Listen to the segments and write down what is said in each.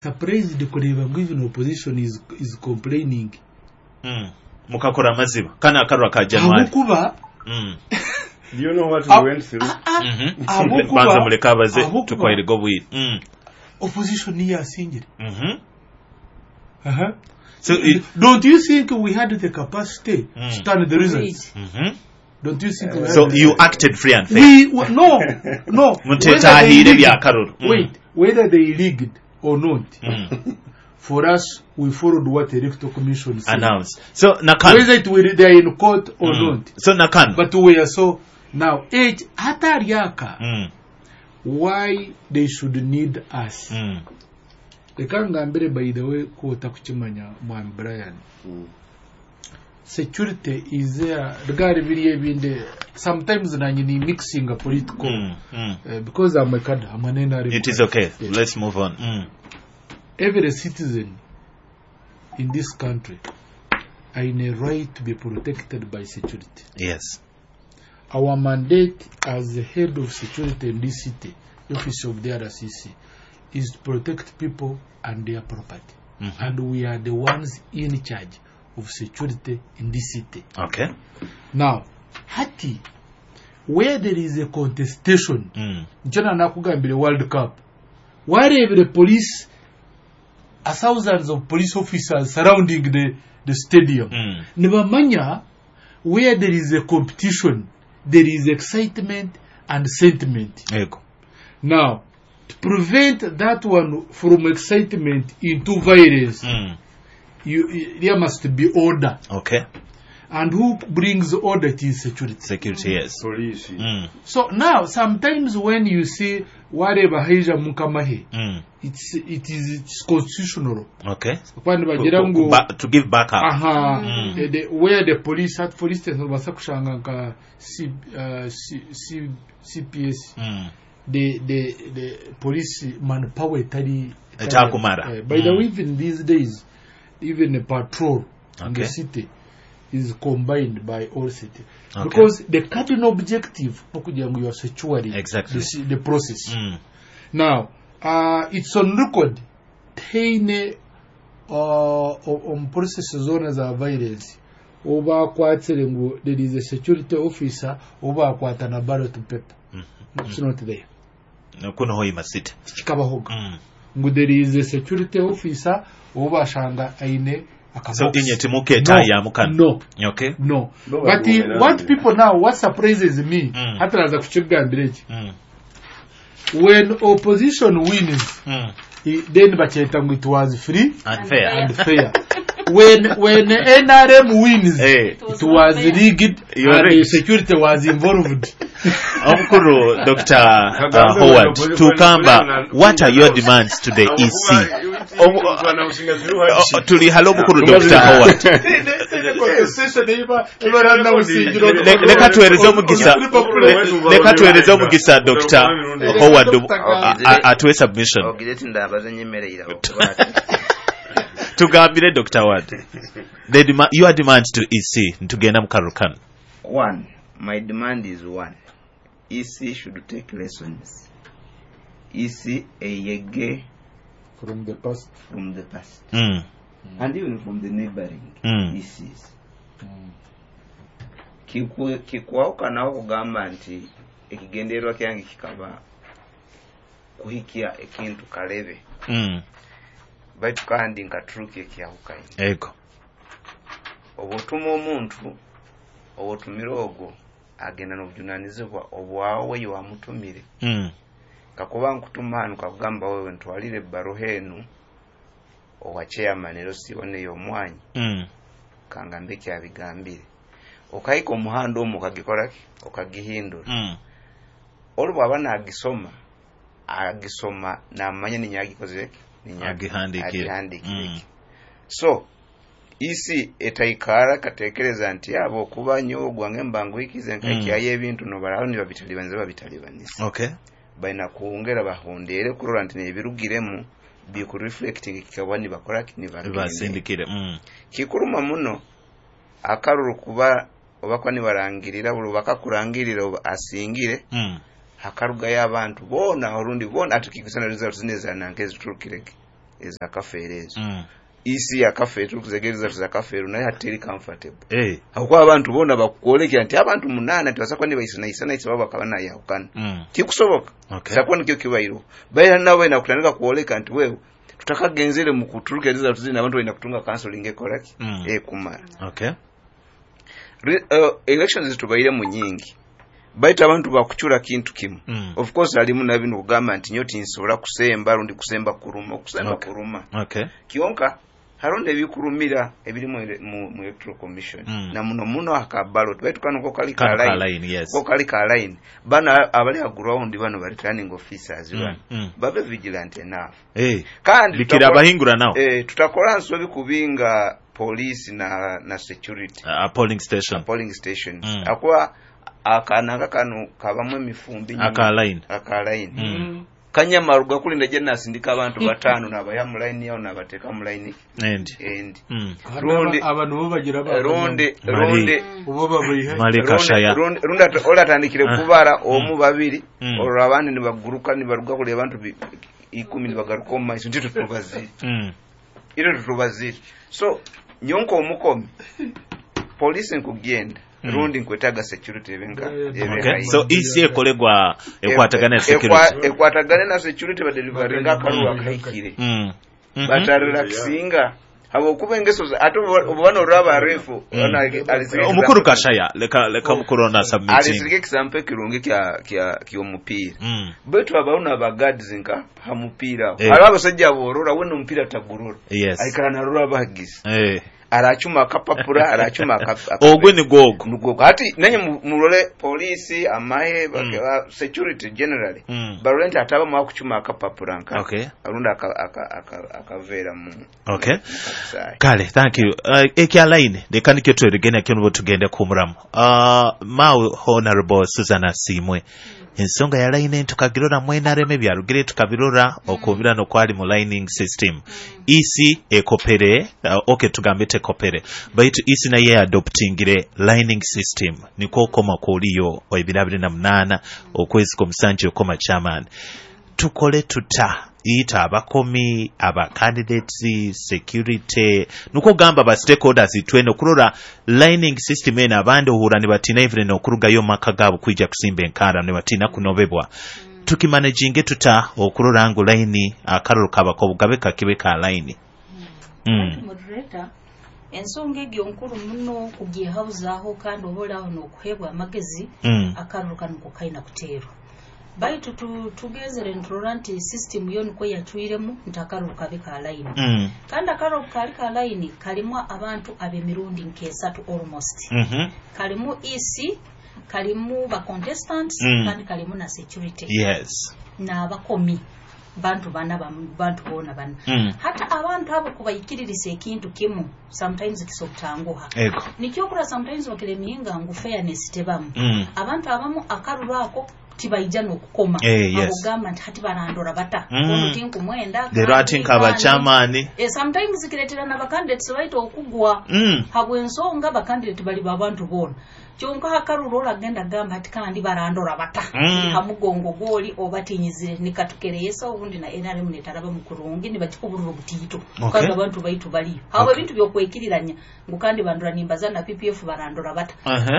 Surprised kureba ngu even opposition is complaining. Mukakora amaziba kana akarwa ka January. Ahabw'okuba Do you know what we went through? Ahabw'okuba Banza muleke abaze, ahabw'okuba tukwairega obwire. Opposition niyo yasingire. Aha. So it, Don't you think we had the capacity to turn the results? Mhm. Don't you think we had So the you acted free and fair. We no. Mutetahire byakaruru. Wait, whether they rigged or not, for us, we followed what the Electoral Commission said. Announce. So Nakan. Whether it will, they are in court or not. So Nakan. But we are so now age hatariaka why they should need us. Reka ngambire, by the way, ko otakukimanya, mwami Brian, security is there rwari biriya ebindi sometimes nanye ni mixing a political because I'm a cadre, I'm an NRM. It is okay. Yes. Let's move on. Every citizen in this country are in a right to be protected by security. Our mandate as the head of security in this city, office of the RCC, is to protect people and their property. And we are the ones in charge of security in this city. Now, hati, where there is a contestation, nikyo nanakugambire World Cup, warebire police, a thousands of police officers surrounding the stadium. Nibamanya where there is a competition, there is excitement and sentiment. Ego. Now, to prevent that one from excitement into violence, there must be order. And who brings order? It is security. Security, yes. Police. So now, sometimes when you see wareba haija mukamahe, it's constitutional. Kwani bagira ngu To give back up. Aha, where the police at, for instance, nobasa kushanga nka C, CPS, the police manpower etari Etakumara. By the way, even these days, even the patrol in the city is combined by all city because the cardinal objective nokugira ngu you are securing the process. Now, it's on record, teine omu process zoona za violence obakwatire ngu there is a security officer obakwata na ballot paper. It's not there. Kuno Hoima City. Kikabahoga ngu there is a security officer obashanga aine So akabox. inye timuketa mukano. No. No. No, but but what people now, what surprises me, hataraza kukigambira eki, when opposition wins, then bakyeta ngu it was free Unfair. And fair. When NRM wins, It it was rigged You're and right. the security was involved. Omukuru Dr. Howard Tukamba, what are your demands to the EC? Tuli halo, omukuru Dr. Howard. Leka tuweereze omugisa Dr. Howard atuwe submission. Ogire ti ndabaza nyemerera okuba ati Tugambire, Dr. Howard, your demands to EC ntugenda mu kalulu kano. One, my demand is one: EC should take lessons, EC eyege from the past. From the past and even from the neighboring ECs. Kikwawukanaho kugamba nti ekigendererwa kyange kikaba kuhikya ekintu kalebe, baitu kandi nkaturuka ekyahukaine. Ego. Oba otuma omuntu, oba otumire ogwo agenda n'obujunanizibwa obwawe wamutumire. Kakuba nkutuma hanu kakugamba wewe ntwalire ebbaruha enu owa chairman ero siboneyo omwanya, kangambe kyabigambire, okahika omuhanda omwo okagikoraki okagihindura. Olwo bwaba nagisoma, agisoma namanya ninyagikozeki. Agihandikire. Agihandikire. So isi etaikara katekereza nti abo okuba nyowe gwange mbanguhikize nkakyayo ebintu nobaraho nibabitalibaniza babitalibanisa. Balina kuwongera bahondere kurora nti nebirugiremu bikureflecting kikaba nibakoraki nibagende. Basindikire. Kikuruma muno akaruru kuba obakwa nibarangirira buli bakakurangirira oba asingire, hakarugayo abantu boona orundi boona ati kikusana results nezananke ziturukirege. Eza Kafeero ezo. EC ya Kafeero tukuzegereza za Kafeero naye hateri comfortable. Hakuba abantu bona bakukolekera nti abantu 8 tibasakwa ni baisana baba bakaba nayahukana. Tikusoboka. Sakwa nikyo kibairo. Baira nabo inakutandika kuoleka nti wewe tutakagenzere mu kuturukereza tuzina abantu ina kutunga counseling ekoraki kumara. Okay. Elections tubaire mu nyingi. Baita abantu bakuchura kintu kimu. Of course alimu na bino kugamba nti nyoti nsobola kusemba rundi kusemba kuruma okusemba kuruma. Okay. Kionka haronde ebikurumira ebirimu mu Electoral Commission. Na muno muno aka ballot baitu kano ko kali ka line. Yes. Ko kali ka line. Bana abali ha ground bano bali returning officers bano. Babe vigilant enough. Kandi bikira abahingura nao. Tutakola nsobi kubinga police na security. Polling station. Polling stations. Akwa akananga kano kabamu emifumbi aka line. Aka line. Kanyamaruga kulinda je nasindika abantu 5 nabaya mu line yao nabateka mu line endi. Rundi abantu bo bagira ba rundi rundi ubo babihe Kashaya rundi ola tandikire kubara omu babiri olwo abandi nibaguruka nibaruga kule abantu 10 nibagaruka mu maiso ntito tubazire. Iro tubazire. So nyonko omukomi police nkugenda rundi nkwetaga security ebenka. Okay. So EC ekolegwa ekwatagana na security. Ekwatagana na security ba delivering akaruwa kahikire. Batarelaxinga habo kuba engeso ate obano raba refu omukuru Kashaya leka mukuru na submitting. Alisirike example kirungi kya kyomupiira. Betu abauna ba guards nka ha mupira. Haro abasajja borora we no tagurura. Aikara narora bagizi. Arachuma akapapura arachuma ogwe ni gogo nugogo hati nenye mulole polisi amahe security generally barolenta ataba mwa kuchuma akapapura nka arunda akavera mu okay kale thank you. Ekya line leka nikyo tweregena kyo tugende kumuramu. Mau Honorable Susan Asimwe ensonga ya line tukagirora mwenareme byarugire tukabirora okubira no kwali mu lining system. EC ekopere okay tugambe tekopere baitu EC naye adoptingire lining system niko koma kuliyo 2028 okwezi komusanje okoma chairman. Tukole tuta ita abakomi aba candidates security nuko gamba ba stakeholders itweno kurora lining system ena abandi ohura nibatina even nokurugayo maka gabo kuija kusimba enkara nibatina kunobebwa. Tukimanaginge tuta okurora ngu line akaruru kabako bugabe kakibe ka line. Moderator ensonga egyo nkuru muno kugihabuzaho kandi obolaho nokuhebwa amagezi akaruru kano kaina kuterwa. Baitu tugezere nturora nti system yo niko yatwiremu ntakaruru kabe ka line. Kandi akaruru kali ka line kalimu abantu abemirundi nkesatu almost. Kalimu EC, kalimu ba contestants, kandi kalimu na security. Yes. Na abakomi bantu bana bantu bona bana. Hata abantu abo kubayikiririsa ekintu kimu sometimes kisobutanguha. Nikyo kura sometimes bakiremiinga ngu fairness tebamu. Abantu abamu akaruru ako tibaija nokukoma. Abugamba nti hati barandora bata. Ono tinku mwenda. Lero ati nkaba chairman. Sometimes kiretera na bacandidates baito okugwa. Habwe ensonga bacandidate bali babantu bona. Kyonka akaruru oragenda gamba hati kandi barandora bata. Hamugongo goli obatinyizire nikatukereyesa obundi na NRM netaraba mukurungi nibakikuburura obutito. Kandi abantu baitu bali. Hawe ebintu byokwekiriranya ngu kandi bandura nimbaza na PPF barandora bata.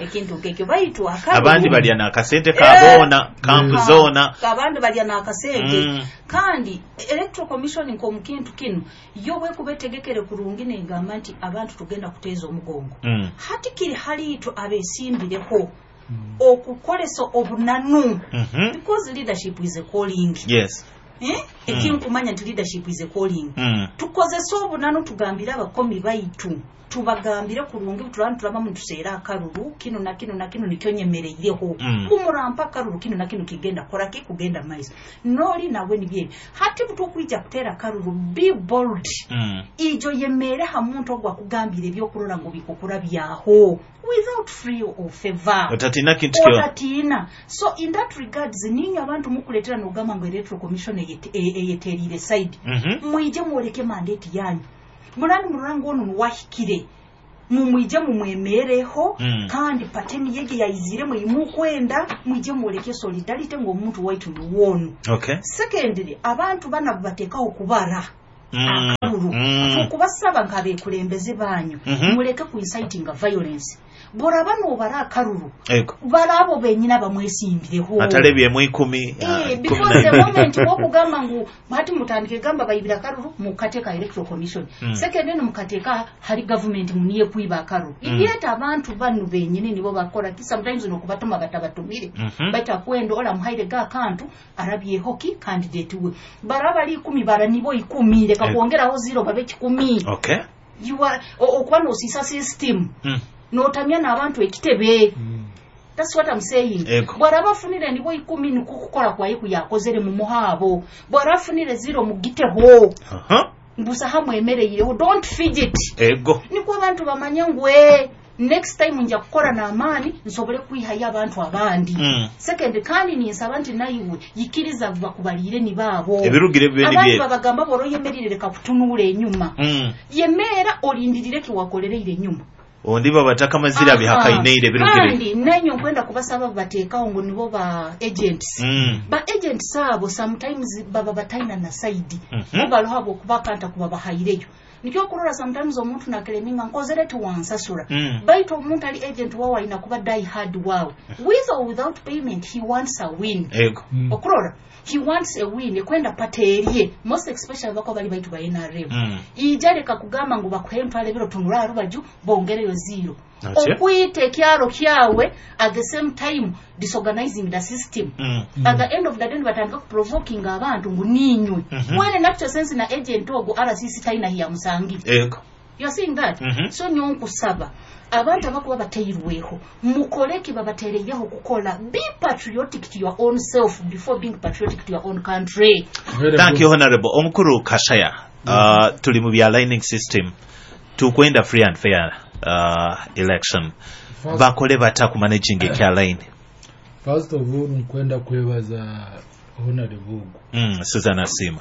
Ekintu kekyo baitu akaruru. Abandi balya na akasente kabona kampu zona. Abandi balya na akasente. Kandi Electoral Commission nko mukintu kino yo bwe kubetegekere kurungi negamba nti abantu tugenda kuteza omugongo. Hati kiri hali itu abesimbireko okukolesa obunanu. Because leadership is a calling. Yes. Ekinkumanya nti leadership is a calling. Tukozesa obunanu tugambira abakomi baitu tubagambire kurungi turanu turaba mutuseera akaruru kino na kino na kino nikyo nyemereireho. Kumurampa akaruru kino na kino kigenda kora ki kugenda maiso. Noli nawe nibye. Hati butukwija kutera akaruru be bold. Ijo yemere ha muntu ogwa kugambire ebyokurora ngo bikukura byaho without free or favor. Otatina kintu kyo. Otatina. So in that regards ninyo abantu mukuletera nogamba ngo Electoral Commission eyeterire side. Mwije mwoleke mandate yanyu. Murani murango ono nuwahikire. Mumwije mumwemereho kandi pateni yege yaizire mwimukwenda mwije mwoleke solidarity ngo omuntu waitu nuwono. Okay. Secondly abantu bana batekaho kubara. Akaruru. Tukubasaba nk'abekulembeze banyu, muleke ku inciting violence. Boraba nobara akaruru, barabo benyina bamwesimbireho. Atalebyemu 10. Because the moment wokugamba ngu hati mutandike gamba bayibira akaruru, mukateka Electoral Commission. Second, eno mukateka hari government muniye kuiba akaruru. Yet abantu banu benyini nibo bakora ki sometimes nokubatuma batabatumire. Baita kwendo ola muhaire ga kantu arabye hoki candidate we. Baraba ali 10 bara nibo 10 leka kuongeraho 0 babe 10. Okay. You are okuba nosisa system. Notamya n'abantu ekitebe. That's what I'm saying. Bwaraba afunire nibo 10 nikukukola kwa yiku yakozere mu muhabo. Bwara afunire 0 mugiteho. Mbusa hamwe emereyireho. Don't fidget. Ego. Niko abantu bamanye ngwe next time nja kukora na amani nsobole kwihayo abantu abandi. Second, kandi ninsaba nti nayiwe yikiriza bakubalire ni babo. Ebirugire bibe ni Abandi bye. babagamba boroyemerire reka kutunula enyuma. Yemera olindirire kiwakolereire enyuma. Ondi babataka mazira bihakaineire birugire. Kandi nanyo nkwenda kubasaba bateekawo ngo nibo ba agents. Ba agents abo sometimes baba bataina na side. Bo baloha bo kubakanta kuba bahaireyo. Nikyo kurora sometimes omuntu nakeleminga nkozere tiwansasura. Baitu omuntu ali agent wawe alina kuba die hard wawe. With or without payment he wants a win. Ego. Okurora he wants a win kwenda paterie most especially bako bali baitu ba NRM. Ijareka kugamba ngu bakuhe ntwale biro tunura rubaju bongereyo 0. Okwite ekyalo kyawe at the same time disorganizing the system. At the end of the day batandika provoking abantu ngu ninywe. When in actual sense na agent ogo RCC taina hiya musangi. Ego. You are seeing that? So nyonkusaba abantu abakuba bateirweho mukoleki babatereyeho kukola. Be patriotic to your own self before being patriotic to your own country. Very Thank good. you, Honorable. Omukuru Kashaya. Tuli mu bya lining system. Tukwenda free and fair election. Bakole bata ku managing ekya line. First of all, nkwenda kwebaza Honorable Ogu. Susan Asima.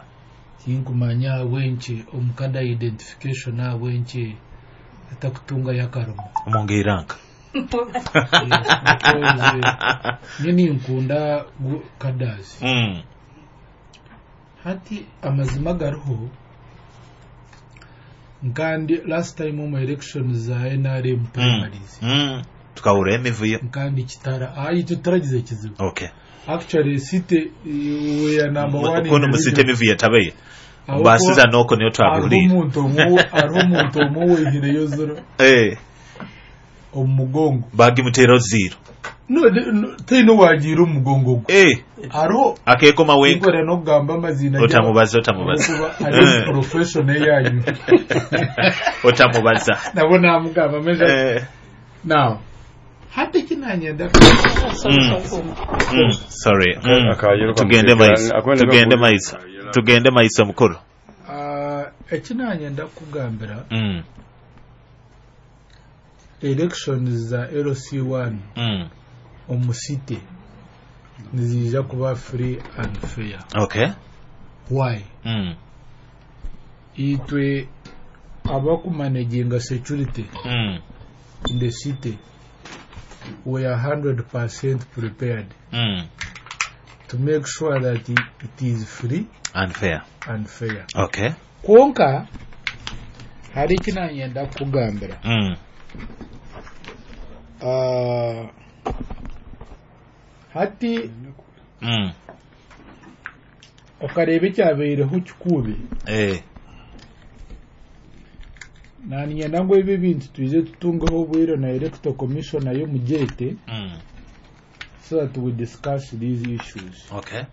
Tinkumanya abwenki omukada identification abwenki atakutunga yakarumu. Omungiranka. Nini nkunda kadazi. Hati amazima gariho nkandi last time mu elections za NRM primaries. Tukahura emivuyo. Nkandi kitara ayi tutaragize kizibu. Okay. Actually city we are number 1. Kono musite emivuyo tabaye. Basiza noko niyo twabihuriye. Hariho omuntu omwe weihireyo 0. Omugongo. Bagimutera 0. No, taino wagira omugongo gwe. Hariho akekoma wenka. Nkora n'okugamba amazina. Otamubaza. Ari profession yanyu. Otamubaza. Nabo namugamba meja. Now, hati kinanyenda. Sorry. Tugende maiso mukuru. Ekinanyenda kugambira. Elections za LC1 omu city nizija kuba free and fair. Okay. Why? Itwe abakumanaginga security in the city we are 100% prepared to make sure that it is free and fair. And fair. Okay. Konka hari kinanyenda kugambira. Hati okareba ekyabaireho kikubi. Naninyenda ngu ebi ebintu twize tutungeho obwire na Electoral Commission nayo mugete so that we discuss these issues. Okay.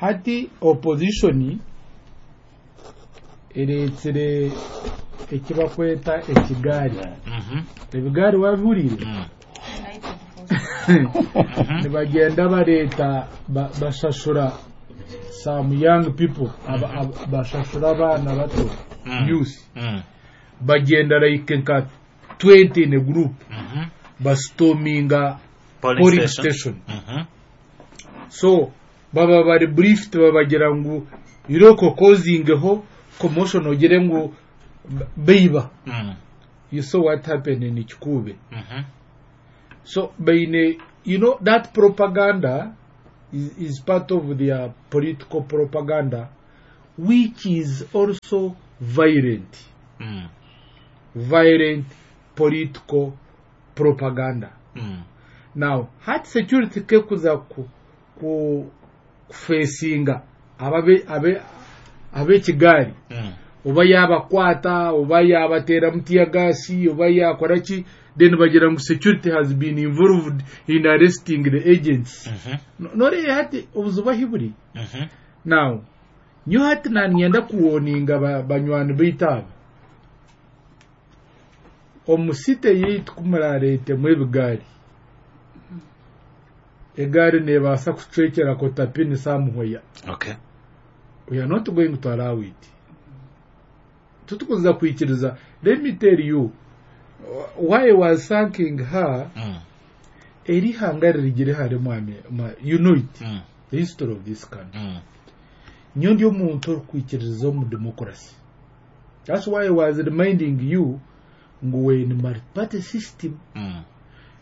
Hati opposition eretsire ekibakweta ekigaari. Ebigaari wabihuriire? Nibagenda bareeta bashashura some young people, bashashura abaana bato, youth. Bagenda like nka 20 in a group. Bastorminga polling station. So baba bari briefed babagira ngu iroko causing commotion ogire ngu beiba. You saw what happened in Kikube. So baine, you know, that propaganda is part of their political propaganda. which is also violent. Violent political propaganda. Now, hati security kekuza ku kufacinga ababe abe ab'ekigaari, oba yabakwata, oba yabateera tear gas, oba yakora ki, then bagira ngu security has been involved in arresting the agents. Noreeba hati obuzibu ahi buri. Now, nyowe hati nanyenda kuwarninga banywani baitu aba. Omu city yaitu kumurareetemu ebigaari, egaari neebaasa kucwekera kotapini somewhere. We are not going to allow it. Tutukuza kwikiriza. Let me tell you why I was thanking her. Eri hanga ririgire hare mwami, you know it, the history of this country. Nyo ndi omuntu orikwikiririza omu democracy. That's why I was reminding you ngu we in multi-party system.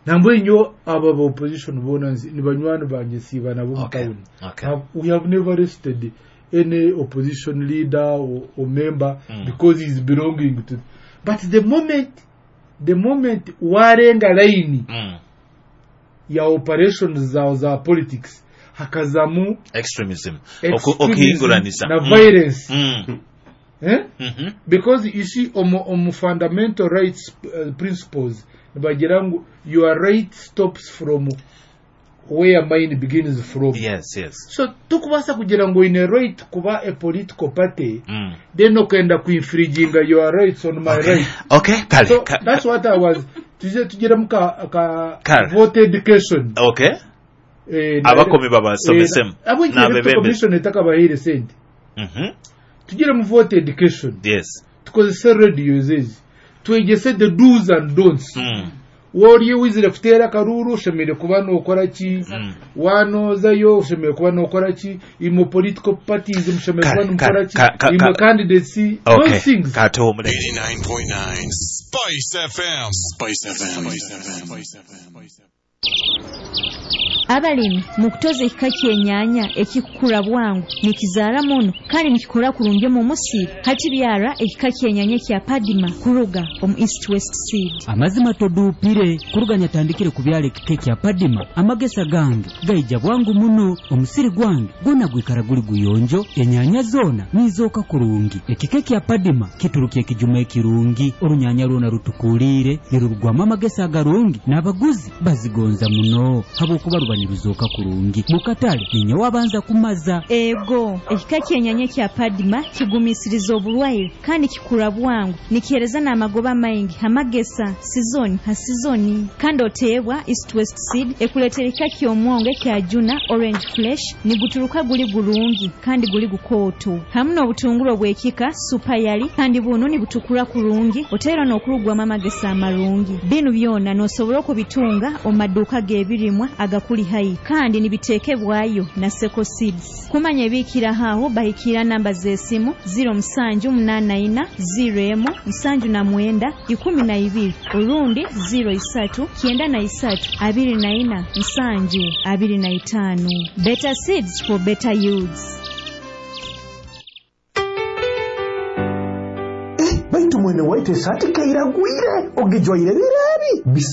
Nambwe nyo aba ba opposition bona ni banywani banje, siba nabo mu town. We have never arrested any opposition leader or member because he's belonging to. But the moment warenga line ya operations zawe za politics, hakazamu extremism. Extremism Okuhinguranisa na violence. Eh? Mhm. Because you see, omu fundamental rights principles nibagira ngu your right stops from where mine begins from. So tukubaasa kugira ngu oine right kuba a political party, then okenda kuinfringinga your rights on my right. Okay, kale. So that's what I was tuje tugiremu ka Kale. Vote education. Eh, Abakomi babasomesemu. N'abebembezi. Commission etakabaheire sente, tugiremu vote education. Tukozese radio ezi, twegese the do's and don'ts. Wori wizire kuteera akaruru, oshemereire kuba nokora ki? Wanozayo, oshemereire kuba nokora ki? Imwe political parties mushemereire kuba nimukora ki? Imwe candidates, those things. Katuwumule. 89.9 Spice FM. Spice FM. Spice FM. Abalimi mu kutoza ekika ky'enyaanya ekikukura bwangu, nikizaara muno kandi nikikura kurungi omu musiri, hati byara ekika ky'enyaanya ekya Padima kuruga omu East West Seed. Amazima toduupire. Kuruga nyatandikire kubyala ekika ekya Padima, amagesa gange gaija bwangu muno. Omusiri gwange gwona gwikara guli guyonjo, enyaanya zoona nizooka kurungi. Ekika ekya Padima kiturukya ekijuma ekirungi, orunyanya rwona rutukuliire, nirurugwamu amagesa agarungi, n'abaguzi bazigonza muno habwokuba ruba niruzooka kurungi. Mukatale ninyowe abanza kumaza. Ego, ekika ky'enyaanya ekya Padima kigumisiriza oburwaire kandi kikura bwangu, nikihereza n'amagoba maingi amagesa sizoni ha sizoni. Kandi oteebwa East West Seed ekuleetera ekika ky'omwongo ekya Juna Orange Flesh, niguturuka guli gurungi kandi guli gukooto, hamu n'obutunguru obw'ekika Super Yali, kandi buno nibutukura kurungi, oteera n'okurugwamu amagesa amarungi. Binu byona n'osobola okubitunga omu maduuka g'ebirimwa agakuli haihi, kandi nibiteekebwayo na Seko Seeds. Kumanya ebiikiraho aho, bahikiira namba z'esimu 0784 01 79 12 orundi 03 93 24 7 25. Better seeds for better yields. Baitu mwene waitu, esaati kairagwire, ogijwaire bireebi bisa.